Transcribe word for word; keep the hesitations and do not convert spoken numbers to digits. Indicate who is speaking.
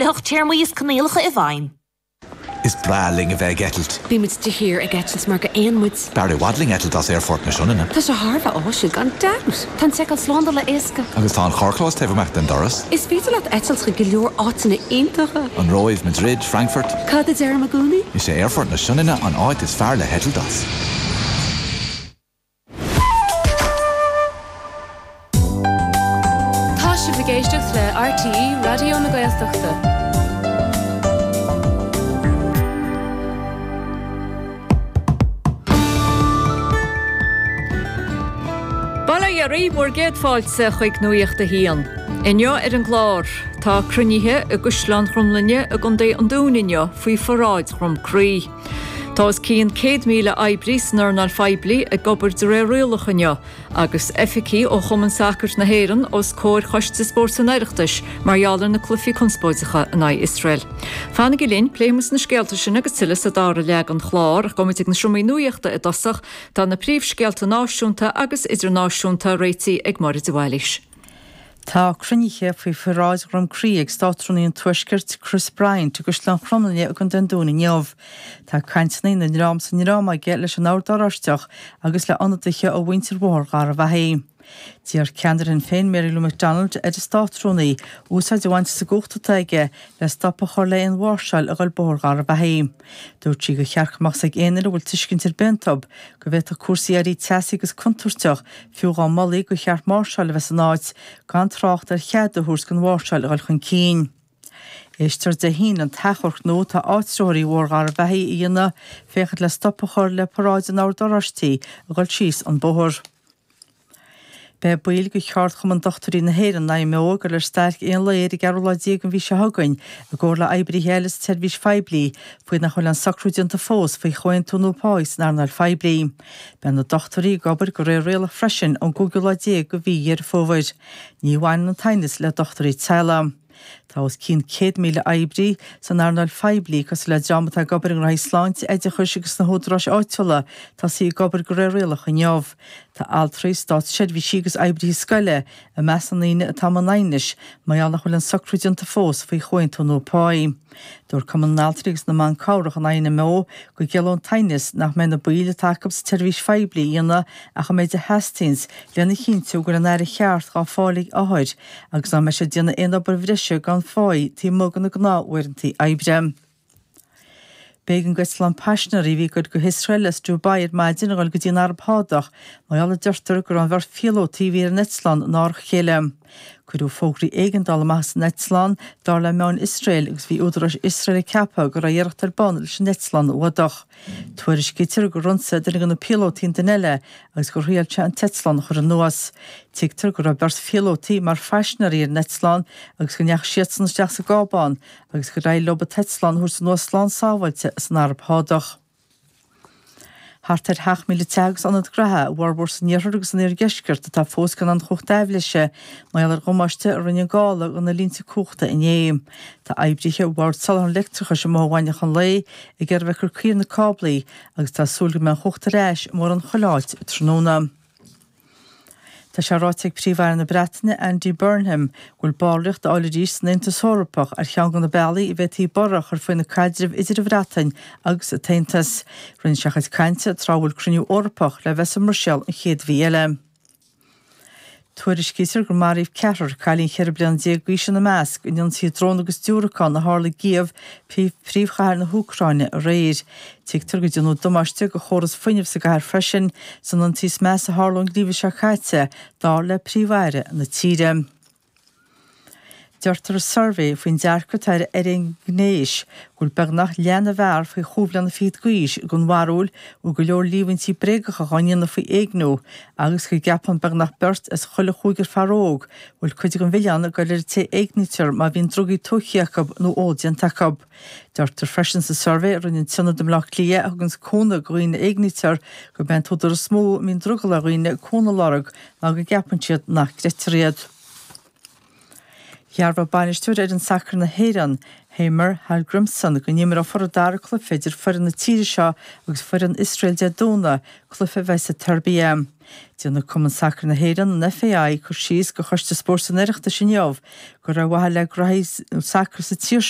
Speaker 1: hocht téarmaí is coinníollacha i bhfeidhm.
Speaker 2: Is breá linn a bheith ag eitilt.
Speaker 3: Bímid de shíor ag eitilt mar gur éan muid.
Speaker 2: B'fhearr i bhfad linn eitilt as Aerfort na Sionainne.
Speaker 3: Tá sé thar a bheith áisiúil gan dabht. Tá an tseiceáil slándála éasca.
Speaker 2: Agus tá an carrchlós taobh amach den doras.
Speaker 3: Is féidir leat eitilt chuig go leor áiteanna iontacha.
Speaker 2: An Róimh, Madrid, Frankfurt.
Speaker 3: Cad a deirim i gcónaí?
Speaker 2: Is é Aerfort na Sionainne an áit is fearr le heitilt as.
Speaker 4: Tá sibh ag éisteacht le RTÉ Raidió na Gaeltachta.
Speaker 5: Bail ó Dhia oraibh, bhur gcéad fáilte chuig Nuacht a hAon. Inniu ar an gclár, tá cruinnithe i gCaisleán Chromghlinne i gContae an Dúin inniu faoi pharáid Dhrom Crí. Tá os cionn céad míle oibrí san earnáil phoiblí ag obair de réir rialach inniu, agus oifigigh ó Chumann Sacair na hÉireann os comhair Choiste Spóirt an Oireachtais mar gheall ar na cluichí conspóideacha in aghaidh Iosrael. Fanaigí linn, pléifimid na scéalta sin agus tuilleadh sa dara leath den chlár, ach gabhfaimid ag na seomraí nuachta i dtosach. Tá na príomhscéalta náisiúnta agus idirnáisiúnta réitithe ag Máire de Bhailís.
Speaker 6: Tá cruinnithe faoi pharáid Dhrom Crí ag Státrúnaí an Tuaiscirt, Chris Bryant, i gCaisleán Chromghlinne i gContae an Dúin inniu. Tá cainteanna ina ndream is a ndream aige leis an Ord Oráisteach agus le ionadaithe ó mhuintir Bhóthar Gharbhachaidh. D'iarr ceannaire Shinn Féin Mary Lou McDonald ar an Státrúnaí úsáid a bhaint as an gcumhacht atá aige le stop a chur le haon mháirseáil a ghoil Bóthar Gharbhachaidh. Dúirt sí gur cheart go mbeadh ag aon duine a bhfuil tuiscint ar bith iontu go bhféadfadh cúrsaí éirí teasaí agus contúirteach fiú dá molfaí gur cheart máirseáil a bheith san áit, gan trácht ar chead a thabhairt don mháirseáil a dhul chun cinn. Éistfear Dé hAoine an t-achomharc nua atá áitritheoirí Bhóthar Gharbhachaidh a dhéanamh féachaint le stop a chur le paráid an Oird Oráistigh a dhul síos an bóthar. Beidh baill de Cheardchumann Dochtúirí na hÉireann, IMO, ag dul ar stailc aon lae ar an gceathrú lá déag den mhí seo chugainn i gcomhar le oibrithe eile sa tseirbhís phoiblí faoi nach bhfuil aon socrú déanta fós faoi chomhaontú nua páí san earnáil phoiblí. Beidh na dochtúirí ag obair de réir rialach freisin ón gcúigiú lá déag de mhí Dheireadh Fómhair. Ní bhaineann an t-aighneas le dochtúirí teaghlaigh. Tá os cionn céad míle oibrí san earnáil phoiblí, cosúil le dream atá ag obair i ngnóthaí sláinte, oideachais agus sna húdaráis áitiúla, tosaithe ag obair de réir rialach inniu. Tá altraí, státseirbhísigh agus oibrithe scoile i measc na ndaoine atá i mbun aighnis mar gheall nach bhfuil aon socrú déanta fós faoi chomhaontú nua páí. Dúirt Cumann na nAltraí agus na mBan Cabhrach an INMO go gciallódh an t-aighneas nach mbeidh na baill atá acu sa tseirbhís phoiblí a dhéanamh ach an méid a theastaíonns lena chinntiú go bhfuil an aire cheart dhá fáil ag othair agus nach mbeidh siad ag déanamh aon obair bhreise gan pháí taobh amuigh de na gnáth-uaireanta oibre. B'éigean d'eitleán paisinéirí a bhí ag goil go hIosrael as Dubai ar maidin a dhul go dtí an Araib Shádach mar gheall a deirtear go raibh an bheirt phíolótaí a bhí ar an eitleán in árach a chéile. Cuireadh fógraí éigeandála amach as an eitleán, dar le meáin Iosrael, agus bhí údaráis Iosrael ag ceapadh go raibh iarracht ar bun leis an eitleán a fhuadach. Tuairiscítear gur ionsaigh duine de na píolótaí an duine eile agus gur thriail sé an t-eitleán a chur anuas. Tuigtear go raibh beirt phíolótaí mar phaisinéirí ar an eitleán agus go ndeachaigh siadsan isteach sa gcábán agus gur éirigh leo an t-eitleán a thabhairt anuas slán sábháilte as an Araib Shádach. Thart ar sheacht míle teach agus ionad gnaithe, a bhformhór san iarthar agus san iardheisceart, atá fós gan aon chumhacht aibhléise mar gheall ar dhamáiste a rinne an gála do na línte cumhachta inné. Tá oibrithe Bhord Soláthair an Leictreachais amuigh i bhFáinne an Lae ag iarraidh a bheith ag cur caoi ar na cáblaí agus tá súil go mbeidh an chumhacht ar ais i mórán chuile áit tráthnóna. Tá sé ráite ag Príomh-Aire na Breataine, Andy Burnham, go bhfuil ballraíocht a fháil arís san Aontas Eorpach ar cheann de na bealaí a bhféadfaí borradh a chur faoina caidreamh idir an Bhreatain agus an tAontas. Rinne sé a chuid cainte tráth a bhfuil cruinniú Eorpach le bheith sa mBruiséil an chéad mhí eile. Tuairiscítear gur maraíodh ceathrar, cailín cheithre bliana déag d'aois ina measc, in ionsaithe drón agus diúracán a tharla i gCív, príomhchathair na hÚcráine, aréir. Tuigtear go ndearnadh damáiste do chóras fuinnimh sa gcathair freisin, san ionsaí is measa a tharla ón ngeimhreadh seo caite, dar le Príomh-Aire na tíre. Deirtear i suirbhé faoin dearcadh atá ar fhoréigean gnéis go bhfuil beagnach leath na bhfear faoi chúig bhliana fichead d'aois den bharúil go bhfuil go leor líomhaintí bréagacha á ndéanamh faoi éigniú agus go gceapann beagnach beirt as chuile chúigear fear óg go bhfuil cuid den mhilleán ag dul ar an té a éignítear má bhíonn drugaí tógtha acu nó ól déanta acu. Deirtear freisin sa suirbhé a rinne an tIonad i mBleá Cliath a thugann cúnamh do dhaoine a éignítear gurb é an t-údar is mó a mbíonn drogall ar dhaoine cúnamh a lorg ná go gceapann siad nach gcreidtear iad. Dhearbhaigh bainisteoir fhoireann sacair na hÉireann, Heimir Hallgrímsson, go n-imreofar an dara cluiche idir foireann na tíre seo agus foireann Iosrael Dé Domhnaigh, cluiche a bheidh sa tSeirbia. Déanfaidh Cumann Sacair na hÉireann, an FAI, cur síos do Choiste Spóirt an Oireachtais inniu gur ar mhaithe le graithí sacair sa tír seo